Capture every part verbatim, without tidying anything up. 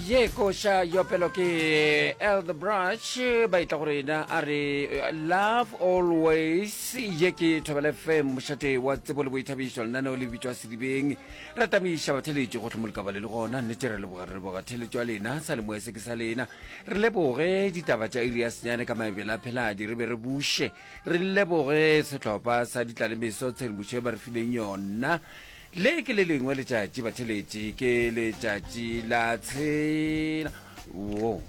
Ye koša yopelo ke Elder Brush ba etla go rena a re love always. Ye ke Thobela F M, mošate wa tsebo le boithabišo, lenaneo le bitšwa Sedibeng. Re tamiša batheletši gohle mo le ka ba le le gona. Nnete re leboga, re leboga theletšo ya lena, sa lemoe se ke sa lena. Re leboge ditaba tša iri ya senyane ka maebele a pheladi, re be re buše re leboge sehlopha sa ditlalemeso tshedimošo e ba re fileng yona. Le ke le lengwe letšatši batheletši, ke letšatši la tshela. Wo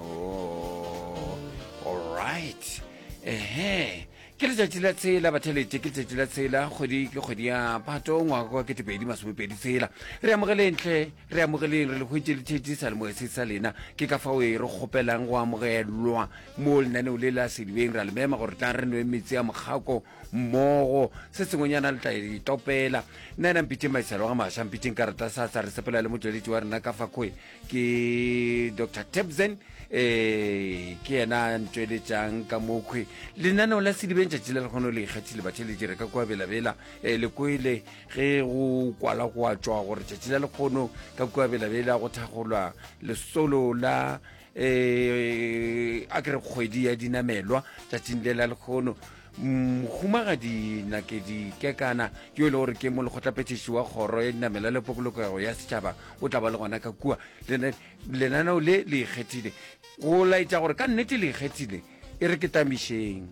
oh, alright, ehe, ke letšatši la tshela batheletši, ke letšatši la tshela kgwedi, ke kgwedi ya Phato, ngwaga kwa ketepedi masomepedi tshela. Re amogeleng tlhe, re amogeleng, re le hwetše le tšhetše sa lemoe se sa lena. Ke ka fao e re kgopelang go amogelwa mo lenaneo le la Sedibeng. Ra le mema gore tlang re nwe metsi a mokgako mmogo, se sengwenyana le tla itopela. Nna ena mpitšeng maisalo ga maša, mpitšeng karata sa sa. Re sepela le motšweletši wa rena ka fakgoe ke Doctor Tebzen, um ke yena a ntšweletšang ka mokhwe lenaneo la Sedibeng tšatši le lekgono le ikgethile. Batheletši, re ka kua Belabela. um le kwele ge go kwala go a tšwa gore tšatši la lekgono ka kua Belabela go thagolwa lesolo la um a kere kgwedi ya dinamelwa. Tšatšing le la lekgono, Mohumagadi Nakedi Kekana, yo e le gore ke molekgotlaphethiši wa kgoro ya dinamela le polokego ya setšhaba, o tla ba le gona ka kua. Lenaneo le le ikgethile go laetša gore ka nnete le ikgethile. E re ke tamišeng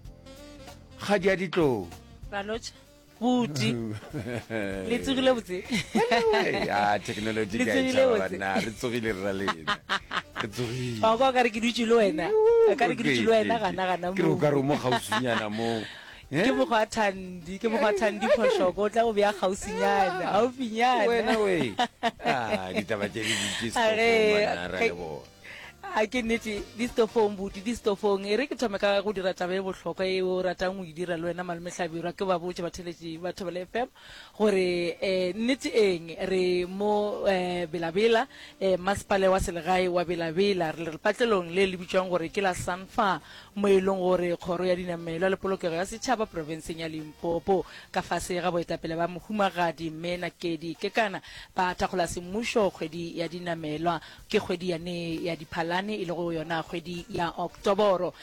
kgadi ya ditlou. Ralotšha buti, le tsogile botse? Ya technology Le ke a e tsogile tšhaba botse? Banna, re tsogile, re ra lena re tsogile. Wa kwa o ka re ke dutše le wena, o ka re ke dutše le wena gana gana. Ke re o moo ka re o mo kgauswinyana mo. Ke mokgwa wa Thandi, ke mokgwa wa Thandi Phošoko, o tla go bea kgauswinyana, gaufinyana. Wena we, ah, ditaba tše di dutše A ge setofong banna, ra ge- leboga. A ke nnete, di stofong buti, di stofong. E re ke thome ka go dira taba e bohlokwa e o ratang go e dira le wena malome Hlabirwa, ke ba botše batheletši ba Thobela F M gore um nnete eng re mo um Belabela, um masepale wa selegae wa Belabela, re lepatlelong le le bitšwang gore ke la Sanfa, mo e leng gore kgoro ya dinamelwa le polokego ya setšhaba profenseng ya Limpopo ka fase ga boetapele ba Mohumagadi Mme Nakedi Kekana ba thakgola semmušo kgwedi ya dinamelwa, ke kgwedi yane ya Diphalane, e lego yona kgwedi ya Oktoboro.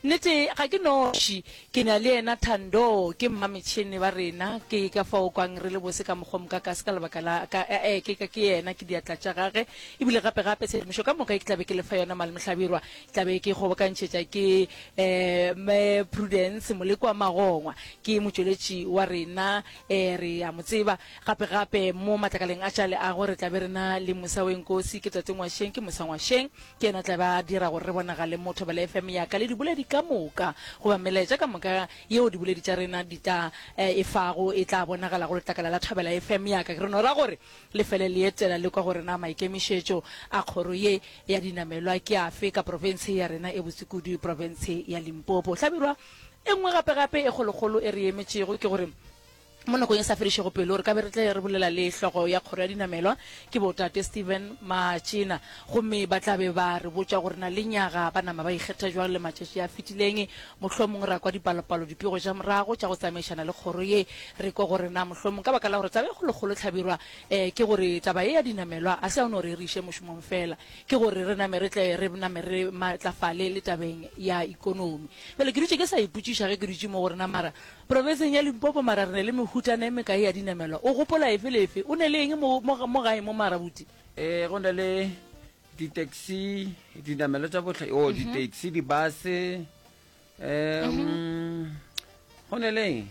Nnete ga ke noši, ke na le yena Thando, ke mmametšhene ba rena, ke ka fao kwang re le bose ka mokgwa mokakase ka lebaka la ka, eh, ke, ke yena, ke diatla tša gage. Ebile gape gape tshedimošo ka moka e ke tla be ke le fa yona malome Hlabirwa, ke tla be ke kgobokantšhetša ke eh, Mme Prudence Molekwa Magongwa, ke motšweletši wa rena, eh, re a mo tseba. Gape gape mo matlakaleng a tša leago re tla be re na le Musa Wenkosi, ke Tate Ngwašeng, ke Musa Ngwašeng, ke yena tla be a dira gore re bonagale mo Thobela F M ya ka le diboledi ka moka, goba melaetša ka moka yeo diboledi tša rena di tla e fago e tla bonagala go letlakala la Thobela F M ya ka. Re no ra gore le fele le etela le kwa gore na maikemišetšo a kgoro ye ya dinamelwa ke afe ka profense ya rena e botse kudu, profense ya Limpopo. Hlabirwa, e nngwe gape gape e kgolokgolo e re emetšego ke gore mo nakong e sa fedišego pelo re ka be re tle re bolela le hlogo ya kgoro ya dinamelwa, ke botate Steven Matšena, gomme ba tla be ba re botša gore na le nyaga ba nama ba ikgetha jwang le matšatši a fetileng. Mohlomong ra kwa dipalopalo, dipego tša morago tša go tsamaišana le kgoro ye, re kwe gore na mohlomong ka baka la gore taba e kgolokgolo Hlabirwa um ke gore taba ye ya dinamelwa a se ya no re re iše mošomong fela, ke gore re name re tle re name re matlafale le tabeng ya ikonomi. Bjale ke dutše ke sa ipotšiša ge ke dutše mo gore na mara profenseng ya Limpopo mara re ne le mehutana e mekae ya dinamelwa? O gopola efe le efe? O ne le eng mo, mo, mo gae mo mara buti? E go na le di-taxi, dinamelwa tša bohle, o di-taxi, dibase, um go ne le eng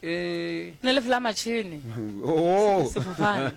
eh Ne le fela matšhene. Oh. Sefofane.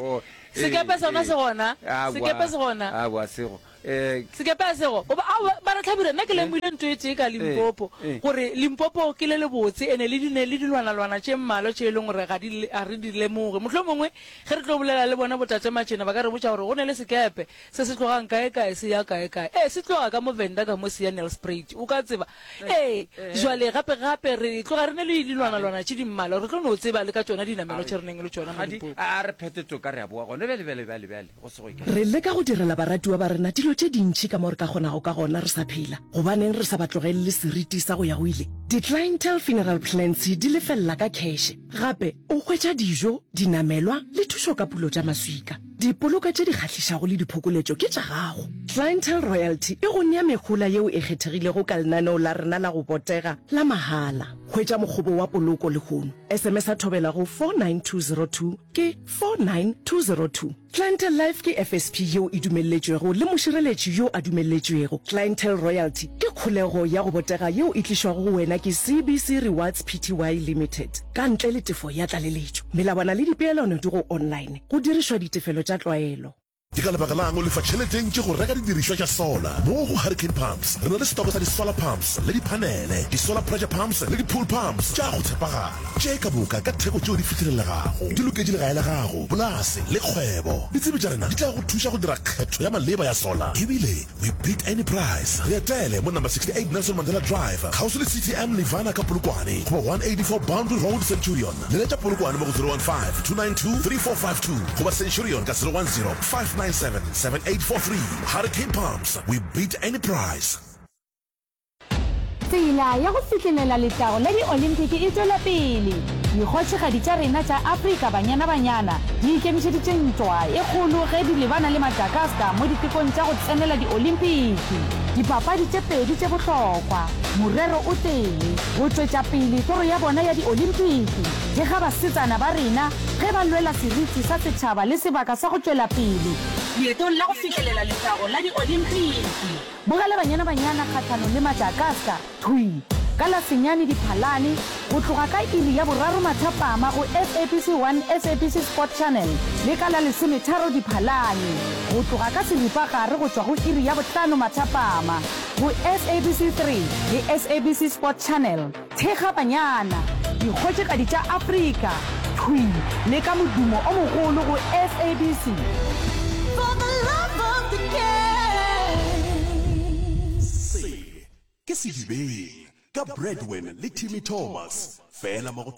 Oh, Sekepe eh, sona eh. se gona. Aowa. Sekepe se gona. Aowa, sego eh Sekepe a sego. O ba aowa, ba re Hlabirwa, nna ke lemogile ntho e tee ka Limpopo, eh. gore Limpopo ke le lebotse ene le di le dilwanalwana tše mmalwa tše e leng gore ga di ga re di lemoge. Mohlomongwe ge re tlo bolela le bona botate Matšena ba ka re botša gore go ne le sekepe se se tlogang kae kae se ya kae kae. Ee, se tloga ka mo Venda ka mo se ya Nelspruit. O ka tseba. Ee, jwale gape gape re tloga re ne le dilwanalwana tše di mmalwa, re tlo no tseba le ka tšona dinamelo tše re neng le tšona mo Gadi, Limpopo. a re phethe toka, re a boa gona bjale bjale bjale bjale go se go ye kae. Re leka go direla baratiwa ba rena dilo tše dintši ka mo re ka kgonago ka gona re sa phela. Gobaneng re sa ba tlogelele seriti sa go ya go ile? Di-Clientele Funeral Plans di lefelela ka kheše. Gape o hwetša dijo, dinamelwa le thušo ka pulo tša maswika. Dipoloko tše di kgahlišago le diphokoletšo ke tša gago. Clientele Royalty e go nea mehola yeo e kgethegilego ka lenaneo la rena la go botega la mahala. Hwetša mokgobo wa poloko lehono. S M S a Thobela go four nine two zero two ke four nine two zero two. Clientele Life ke F S P yeo e dumelletšwego le mošireletši yo a dumelletšwego. Clientele Royalty ke kholego ya go botega yeo e tlišwago go wena ke C B C Rewards P T Y Limited ka ntle le tefo ya tlaleletšo. Melawana le dipeelano di go online go dirišwa ditefelo tša tlwaelo. Ke ka lebaka la'ng o lefa tšhelete e ntši go reka didirišwa tša solar? Mo go Hurricane Pumps re na le setoko sa di-solar pumps le diphanele, di-solar pressure pumps le di-pool pumps tša go tshepagala. Tše ka moka ka theko tšeo di fihlelelegago. Di loketše legae la gago, polase le kgwebo. Ditsebi tša rena di tla go thuša go dira kgetho ya maleba ya solar. Ebile we beat any price. Re etele mo number sixty-eight Nelson Mandela Drive, kgauswi le C T M Nirvana ka Polokwane, goba one eighty-four Boundary Road, Centurion. Leletša Polokwane mo go zero one five, two nine two, three four five two goba Centurion ka zero one zero, five nine seven, seven eight four three. Hurricane Pumps, we beat any price. Tsela ya go fihlelela letago la diolimpiki e tšwela pele. Dikgošigadi tša rena tša Afrika Banyana Banyana di ikemišeditše ntwa e kgolo ge di lebana le Madagascar mo ditekong tša go tsenela diolimpiki. Dipapadi tše pedi tše bohlokwa, morero o tee, go tšwetša pele toro ya bona ya diolimpiki. Thekga basetsana ba rena ge ba lwela seriti sa setšhaba le sebaka sa go tšwela pele leetong la go fihlelela letago la diolimpiki. Bogela Banyana Banyana kgahlanong le Madagascar thwi ka la senyane Diphalane go tloga ka iri ya boraro mathapama go S A B C one S A B C Sport Channel le ka la lesometharo Diphalane go tloga ka seripagare go tšwa go iri ya bohlano mathapama go S A B C three le S A B C Sport Channel. Thekga Banyana, dikgošigadi tša Afrika, thwi le ka modumo o mogolo go S A B C. For the love of the game. Se ke Sedibeng ka Bradwin le Timmy Thomas fela mo go